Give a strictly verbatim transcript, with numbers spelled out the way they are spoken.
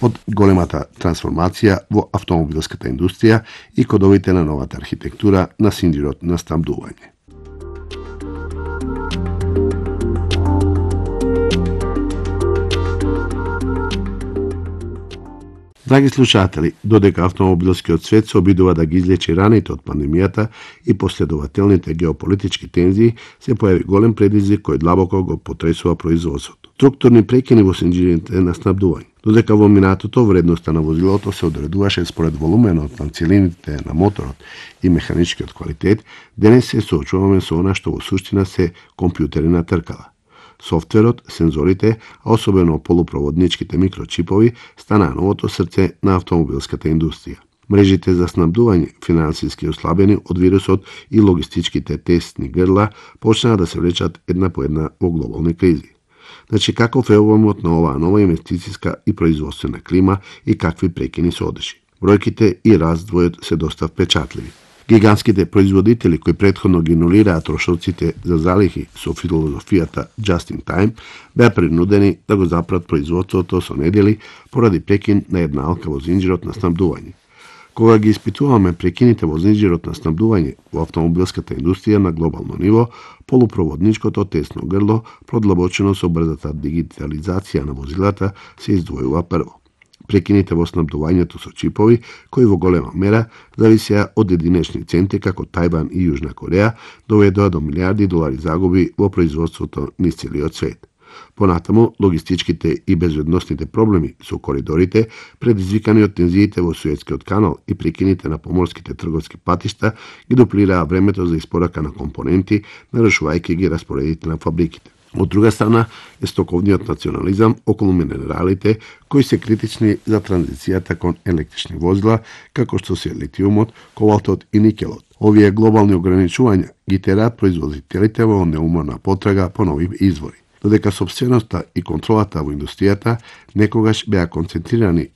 од големата трансформација во автомобилската индустрија и кодовите на новата архитектура на синџирот на снабдување. Драги слушатели, додека автомобилскиот свет се обидува да ги излечи раните од пандемијата и последователните геополитички тензии, се појави голем предизвик кој длабоко го потресува производството. Структурни прекини во синџирите на снабдување. Додека во минатото вредноста на возилото се одредуваше според волуменот на целините на моторот и механичкиот квалитет, денес се соочуваме со она што во суштина се компјутери на тркала. Софтверот, сензорите, а особено полупроводничките микрочипови, станаа новото срце на автомобилската индустрија. Мрежите за снабдување, финансиски ослабени од вирусот и логистичките тесни грла, почнаа да се влечат една по една во глобални кризи. Значи, каков е обемот на оваа нова инвестициска и производствена клима и какви прекини се одеши? Бројките и раздвојот се доста впечатливи. Гигантските производители кои претходно ги нулираа трошоците за залихи со филозофијата just in time, беа принудени да го запрат производството со недели поради прекин на една алка во зинџирот на снабдување. Кога ги испитуваме прекините во зинџирот на снабдување во автомобилската индустрија на глобално ниво, полупроводничкото тесно грло, продлабочено со брзата дигитализација на возилата, се издвојува прво. Прекините во снабдувањето со чипови, кои во голема мера зависеа од единечни центи како Тајван и Јужна Кореја, доведоа до милиарди долари загуби во производството низ целиот свет. Понатаму, логистичките и безбедносните проблеми со коридорите, предизвикани од тензиите во Суетскиот канал и прекините на поморските трговски патишта, ги дуплираа времето за испорака на компоненти, нарушувајќи ги распоредите на фабриките. Од друга страна е стоковниот национализам околу минералите, кои се критични за транзицијата кон електрични возила, како што се литиумот, ковалтот и никелот. Овие глобални ограничувања ги тераат производителите во неуморна потрага по нови извори. Додека собственоста и контролата во индустријата некогаш беа концентрирани